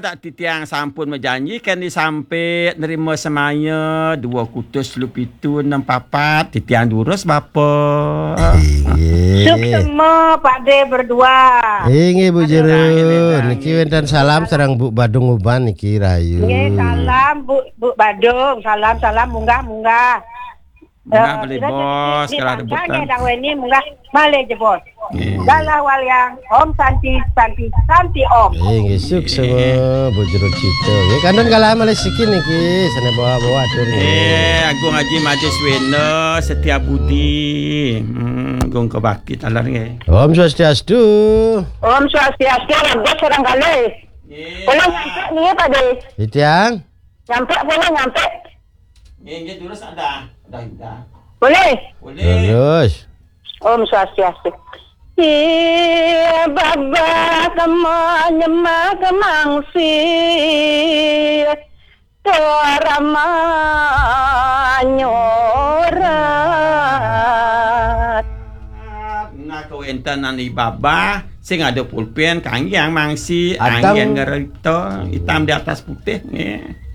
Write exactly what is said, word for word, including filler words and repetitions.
Dak titiang sampun majanji, kan disampit nerima semaya dua kutus telu pitu enam papat. Titiang durus, Bapa. Inggih. Suksema, Pak De berdua. Inggih, Bu Jero. Niki wénten salam sareng Bu Badung Uban niki rayu. Nggih, salam Bu, Bu Badung. Salam, salam, munggah, munggah. Munggah, eh, malih, Bos, di, di, kalah di rebutan. Nggih, dawai ni munggah malih jebos. Nggih. Galah waliang, Om Santi, Santi, Santi Om. Eh, nggih, suksema, Bu Jero Cita. Nggih, kantun galah malih siki niki, sané bawa-bawa atur nggih. Eh, Agung Haji Madis Wena, Setia Budi. Hmm, Agung Kebakti taler nggih. Om Swastiastu. Om Swastiastu, raga sareng kalih. Nggih. Kula nyampé niki, Pak De. Titiang. Nyampé, kula nyampé. Nggih, nggih, terus ada. Ada, ada. Boleh? Boleh. Terus. Om Swastiastu. Iya, babah kema nyemak kemangsi. Torama nyorat. Nah, kawéntenan I Babah sing ada pulpén, kanggé mangsi, Atang. Anggén ngerito, hitam di atas putih, nggih.